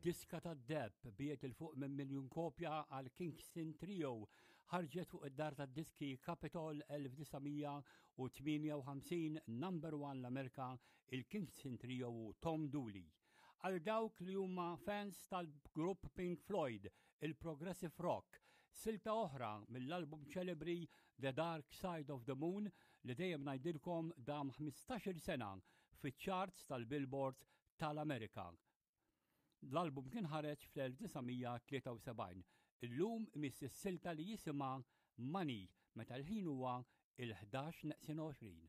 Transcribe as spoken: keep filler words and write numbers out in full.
Id-diska tad-deheb biegħet 'il fuq minn miljun kopja għal Kingston Trio, ħarġet fuq id-dar tad-diski Capitol elf disa' mija u tmienja u ħamsin, number one l-Amerika, il-Kingston Trio u Tom Dooley. Għal dawk li huma fans tal-grupp Pink Floyd, il-Progressive Rock, silta oħra mill-album ċelebri The Dark Side of the Moon, li dejjem ngħidilkom dam ħmistax-il sena fiċ-charts tal-Billboard tal-Amerika. L-album kien ħareġ fl-elf disa' mija tlieta u sebgħin. Illum miss is-silta li jisimha Money, meta l-ħin huwa il-ħdax neqsin għoxrin.